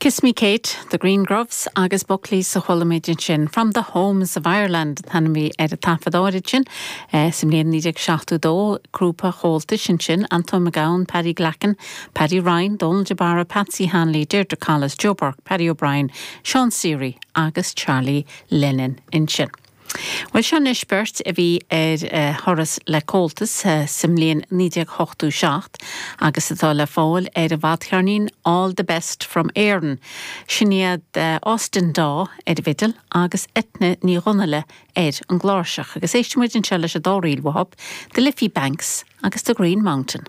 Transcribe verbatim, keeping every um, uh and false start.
Kiss Me Kate, The Green Groves agus Buckley's a chuala muid ansin from the Homes of Ireland tanmí ar a taifeadáirid sin eh, sa mbliain naoi déag seachtó dó grúpa Chomhaltais ansin Anton McGowan, Paddy Glacken, Paddy Ryan, Donald de Barra, Patsy Hanley, Deirdre Collis, Joe Burke, Paddy O'Brien, Sean Seary agus Charlie Lennon ansin. Well seo anois beirt a bhí ar uh, thuras le Comhaltas uh, sa mbliain naoi déag ochtó seacht agus atá le fáil ar a bhfadcheirnín All the Best from Éirinn. Sin iad uh, Austin Daw ar an bhfidil agus Eithne Ní Dhonnaile ar an gcláirseach agus éistfidh muid anseo leis an dá ríl uathu, The Liffey Banks agus the Green Mountain.